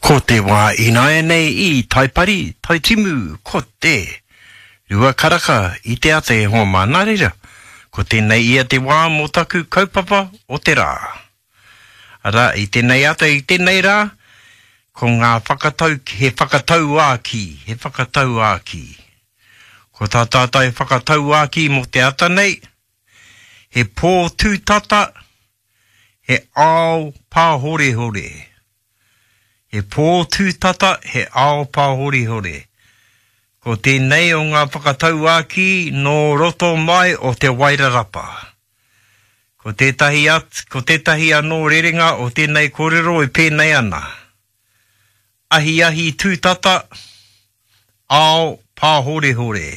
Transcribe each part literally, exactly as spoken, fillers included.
Ko te wā ināianei i Taipari, Taitimu, ko te rua karaka i te ata e hoa mā. Nā reira, ko tēnei ia te wā mō taku kaupapa o te rā. Arā, i tēnei ata, i tēnei rā, ko ngā whakatau, he whakatauākī, he whakatauākī. Ko tā tātou whakatauākī mō te ata nei, he pō tūtata, he ao pāhorehore. He pō tūtata, he ao pāhorehore. Ko tēnei o ngā whakatauākī nō roto mai o Te Wairarapa. Ko tētahi, at, ko tētahi anō rerenga o tēnei kōrero e pēnei ana. Ahiahi tūtata, ao pāhorehore.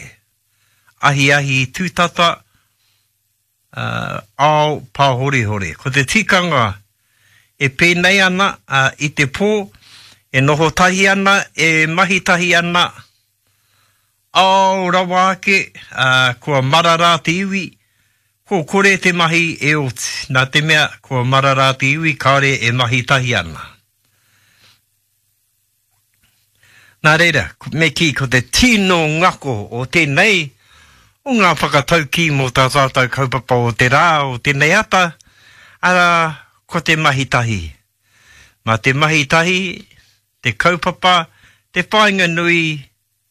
Ahiahi tūtata, uh, ao pāhorehore. Ko te tikanga e pēnei ana uh, i te pō, e noho tahi ana, e mahi tahi ana, ao rawa ake, uh, kua marara te iwi, ko kore te mahi e oti. Nā te mea, kua marara te iwi, kāore e mahi tahi ana. Nā reira, me kī, ko te tino ngako o tēnei, o ngā whakataukī mō tā tātou kaupapa o te rā, o tēnei ata, arā, ko te mahi tahi. Mā te mahi tahi, te kaupapa, te whāinga nui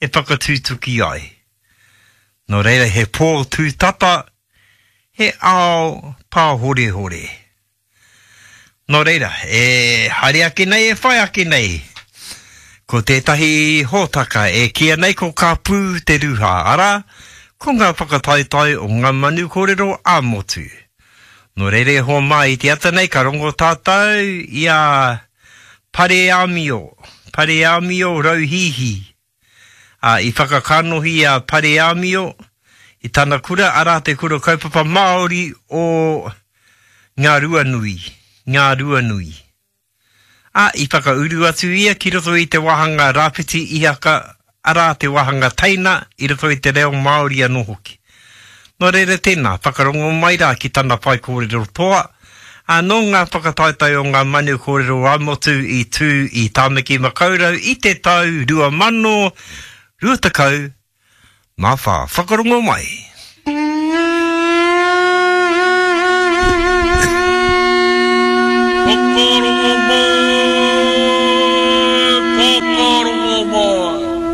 e whakatutuki ai. Nō reira, he pō tūtata, he ao pāhorehore. Nō reira, e haere ake nei, e whai ake nei, ko tētahi hōtaka e kīia nei ko Ka Pū te Ruha, arā, ko ngā whakataetae o ngā manu kōrero ā-motu. Nō reira e hoa mā i te ata nei ka rongo tātou i a Pareāmio, Pareāmio Rauhīhī. Ā, i whakakanohi a Pareāmio i tana kura, arā te kura kaupapa Māori o Ngā Ruanui, Ngā Ruanui. Ā, i whakauru atu ia ki roto i te wāhanga Rāwhiti Ihaka, arā te wāhanga teina i roto i te reo Māori anō hoki. Nō reira tēnā, whakarongo mai rā ki tana whaikōrero toa, ā, nō ngā whakataetae o ngā manu kōrero ā-motu i tū i Tāmaki Makaurau i te tau rua mano rua tekau mā whā. Whakarongo mai!